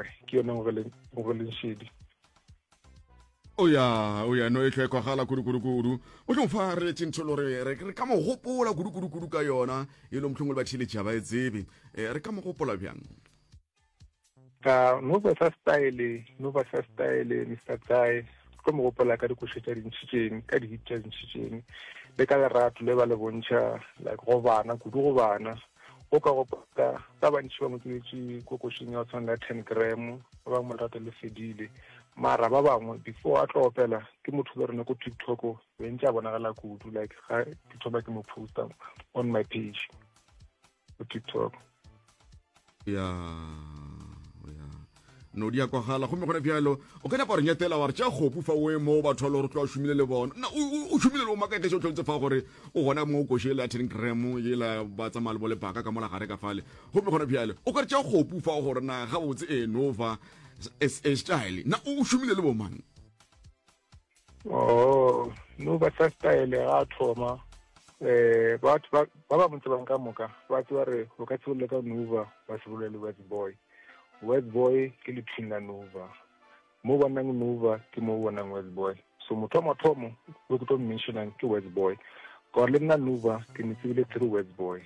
gage ke yone Ngogeleng Šedi. O ya, o ya, no e hlwe kwagala kudu kudu kudu. Mohlomong fa re letše ntho e le gore re re ka mo gopola kudu kudu kudu ka yona, e le mohlomongwe le batheeletši ga ba e tsebe. Eh, re ka mo gopola bjang? Ka no ba sa style, no ba sa style, Mister Tsae, tlo mo gopola ka dikoša tša dintšhitšeng, ka di-hit tša dintšhitšeng, le ka lerato le ba le bontšha like go bana, kudu go bana. O ka gopola ba bantši ba mo tsebetše ko košeng ya go tshwana le 10 gram, ba bangwe lerato le fedile. Mara ba bangwe before a tlo opela ke motho le rena ko TikTok be ntse a bonagala kudu like ga ke thoma ke mo posta on my page. go tiktok ya ya no di a kwagala gomme gona bjalo o ka napa re nyetela wa re tša kgopu fa o e mo batho ba le gore tloa šomile le bona na o šomile le o makaekeše o tlhontse fa gore o gona mo koše la ten gram yela ba tsamaya le bo lebaka ka mola gare ka fale gomme gona bjale o ka re tša kgopu fa gore na gabotse e nova sa style na o šomile le bomang Oh, no ba sa style ga thoma eh batho ba ba ba mo tsebang ka moka ba tseba re o ka se bolele ka Nova ba se bolele le West Boy. West Boy ke lethwing la Nova. Mo bonang Nova ke mo bonang West Boy. So motho wa mathomo o ke tlo mentionang ke West Boy. Ka gore le nna Nova ke mo tsebile through West Boy.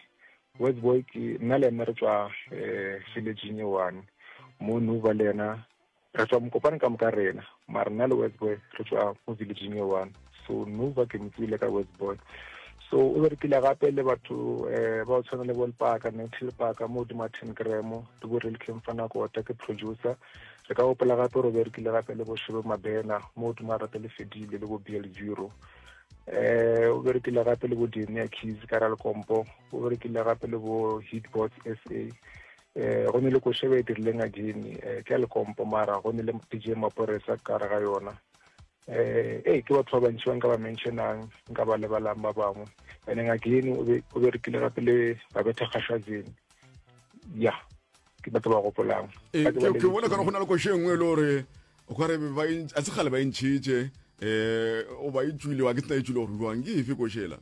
West Boy ke nna le ena re tswa eh village e one. Mo Nova le ena Re tswa Mokopane ka moka rena, mara nna le Westboy re tswa mo villageng e one. So Nova ke mo tsebile ka Westboy. So o berekile gape le batho eh ba o tshwana le bo Lepaka, Nancy Lepaka mo godimo ga 10 gram, le bo Real King Fanakota ke producer. Re ka gopola gape gore o berekile gape le bo Shebe Mabena mo godimo ga Rate le Fedile le bo BL Zero. Eh o berekile gape le bo Denia Keys ka Ralkompo, o berekile gape le bo Hitbots SA. Eh, go ne le koše ba e dirileng again eh, ke ya lekompo mara go ne le DJ Maporesa ka gare ga yona eh ee ke batho ba bantši ba nka ba mentionang nka ba lebalang ba bangwe and then again o be o berekile gape le Babetha Kgashazeni ya ke batho ba gopolang eh, ke bona kana go na le koše e nngwe e le gore o kare ba a se kgale ba e ntšhitše um o ba e tswile wa ke tsena e tswile gore jwang ke efe košela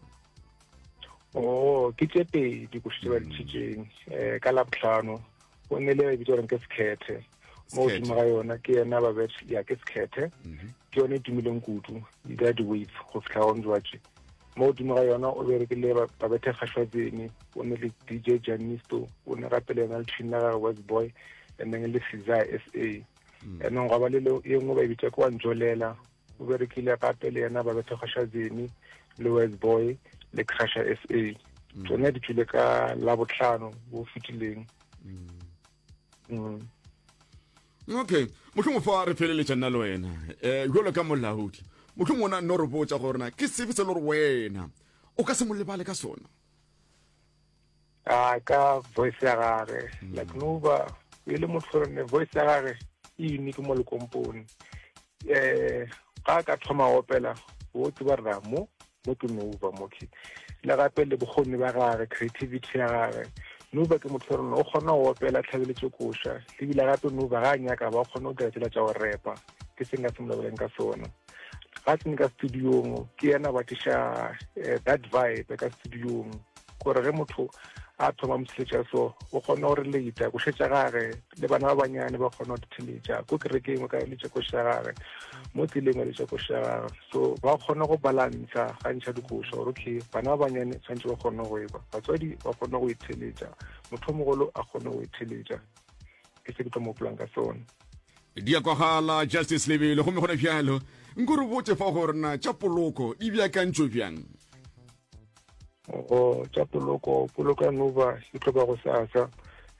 Oh, ke tše pedi koši tše ba di tšhitšeng um ka labohlano go ne le bitsa goreng ke sekhethe mo godimo ga yona ke yena ba ya ke sekhethe mhm. ke yone e tumileng kudu e dira di-wave go fitlha gong jwatše mo godimo ga yona o berekile babethe kgašwatsene o ne le dj janisto o ne gape le yena le tšhini la gage west boy and then le cesar s a mm. and then gwa ba le e nngwe ba e bitsa ke wa njolela O berekile gape le yena Babetho Kgashazeni le West Boy le Crusher SA. Mm. Tsone di tšwile ka Labohlano bo fetileng. Mm. mm. Okay, mohlomong fa re feleletša nna le wena um jalo ka molaodi mohlomong ona no re botša gore na ke sefe se le gore wena o ka se mo lebale ka sona a ka voice ya gage mm. like no ba e le motho ne voice ya gage e unique mo lekompone eh ga ka thoma opela o tseba rra mo mo ke nova mo ke le gape le bokgoni ba gage creativity ya gage nova ke motho rona o kgona go opela tlhabeletso koša ebile gape nova ga a nyaka ba kgona go dira tsela tša go repa ke se nka se mo lebeleng ka sona ga tsene ka studiong ke yena ba tliša eh, that vibe ka studiong gore ge motho a thoma motsheletša so o kgona go relata ko šetša gage le bana ba banyane ba kgona go ditheletša ko kerekeng o ka eletša koša gage mo tseleng o eletša koša gage so ba kgona go balantsha ga ntšha dikoša gore okay bana ba banyane tshwanetse ba kgone go ekwa batswadi ba kgone go itheletša motho mogolo a kgone go itheletša ke se ke tlo mo gopolang ka sone Di a kwagala, Justice Lebele, gomme gona bjalo nko re botše fa gore na tša poloko di beakantšwe bjang. Go tša poloko, poloko ya Nova e tlo ba go sasa.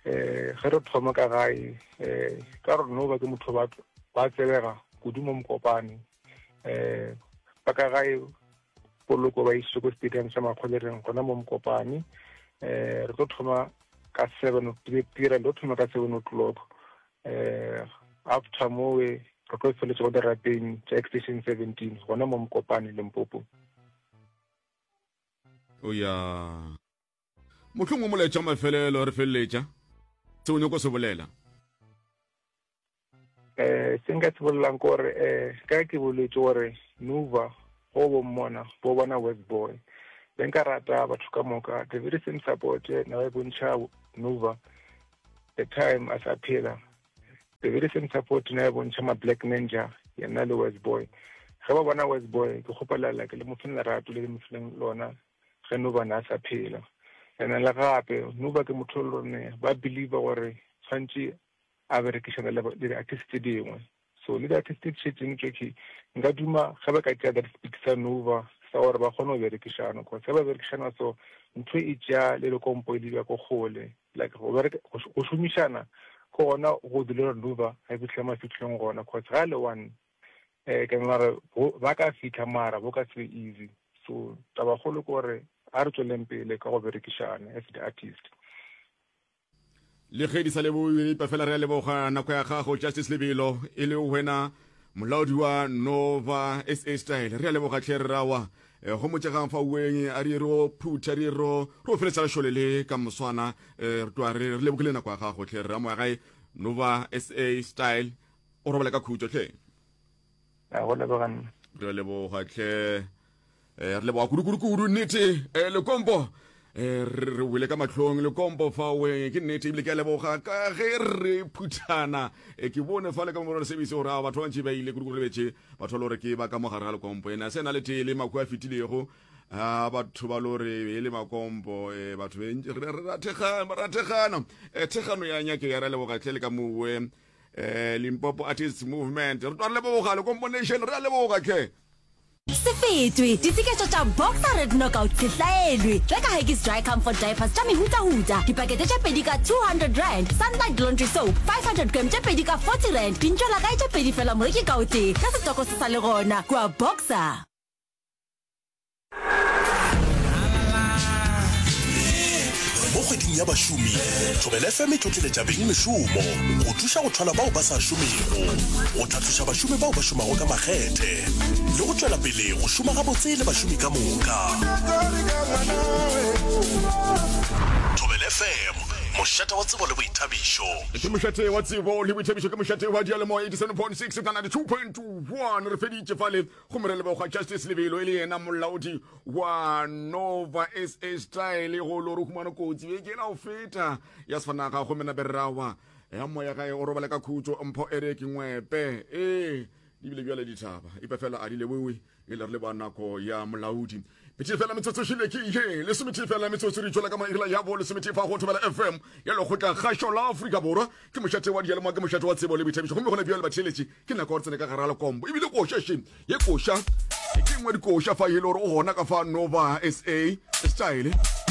Eh, ge re thoma ka gae, eh, ka gore Nova ke motho ba ba tsebega kudu mo Mokopane. Eh, ba ka gae poloko ba isitse ko stadium sa Makgolereng gona mo Mokopane. Eh, re tlo thoma ka 7 tirelo thoma ka 7 o'clock eh after mowe re tlo feletša go dirapeng tša extension 17 gona mo Mokopane Limpopo. O ya mohlomongwe molaetša mafelelo re feleletša se o nyako se bolela. Eh se nka se bolelang ke gore eh ka ke boletse gore Nuva go bo mmona bo bona West Boy be nka rata batho ka moka the very same support ne ba e bontšha Nuva the time a sa phela. The very same support na e bontšha ma Black Ninja yena le West Boy. Ge ba bona West Boy ke kgopela like le mo feng lerato le le mo fileng lona ge Nuba ne a sa phela. And le gape Nuba ke motho le rone ba believe gore tshwantše a berekišana le di-artist tse dingwe. So le di-artist tse di šetšeng tšohle nka duma ge ba ka tšea that speed sa Nuba sa gore ba kgone go berekišana cause ge ba berekišana so ntho e tšea le lekompo e lebja ko kgole. Like go bereka go šomišana ke gona go dira gore Nuba a fihle mafihlong gona cause ga le one eh ke mara ba ka fihla mara bo ka se easy. So taba kgolo ke gore a re tsweleng pele ka go berekišana as the artist. Le ge di sa lebogiwe epa fela re a leboga nako ya gago Justice Lebelo e le wena molaodi wa Nova SA Style. Re a leboga tlhe re rawa eh, go motšegang fa ueng a re ro phutha re ro ro feletsa lešole le ka moswana eh, re tloa re re lebogile nako ya gago tlhe re ramoya gae Nova SA Style o robale ka khutšo tlhe. A go leboga nna. Re a leboga tlhe. Eh, re leboga kudu-kudu-kudu nnete eh, lekompo eh, re wele ka mahlong lekompo fawe ke nnete ebile ke a leboga ka ge re phuthana eh, ke bone fa le ka morero service gore a batho ba bantši ba ile kudu-kudu lebetše batho ba le gore ke ba ka mogare ga lekompo ena se na le tee le makhu a fetilego a batho ba le gore e le makompo eh, batho re rathegana eh, thegano ya nyake ya re leboga tle le ka mowe eh, Limpopo Artists Movement re twa re leboga lekompo nation re a leboga tlhe. Se fetwe! Ditseketšo tša Boxer Red Knockout se hlaelwe! Reka Huggies Dry Comfort Diapers tša mehutahuta, dipakete tše pedi ka R200, Sunlight Laundry Soap 500g tše pedi ka R40, dintšwelakae tše pedi fela moreki ka o tee, ge setoko se sa le gona kua Boxer. Mo kgweding ya bašomi, Thobela FM e tlotleletša bengmešomo go thuša go thwala bao ba sa šomego, go tlhatloša bašomi bao ba šomago ka makgethe le go tšwela pele go šoma gabotse le bašomi ka moka. Thobela FM, mošate wa tsebo le boithabišo. Ke mošate wa tsebo le boithabišo, ke mošate wa diyalemoya 87.6 ka 92.1. Re feditše fale Gomme re leboga Justice Lebelo e le yena molaodi wa Nova SA Style go lo re humana kotsi beke la go feta ya sefanaga gomme nape rawa ya moya gae o robale ka khutšo mpho Eric Ngwepe ee di bile bjale dithaba ipe fela a di lebowe e le re leboga nako ya molaodi Metee fela metsotso šile ke ye lesometee fela metsotso re tšwela ka mairela ya bo lesometee fa go Thobela FM ya lekgotla kgašo la Afrika Borwa ke mošate wa diyalemoya ke mošate wa tsebo le boithabišo gomme gona bjale batheeletši ke nako ya gore tsene ka gare ga lekombo ebile koša še ye koša ke nngwe dikoša fa e le gore o gona ka fa Nova SA style.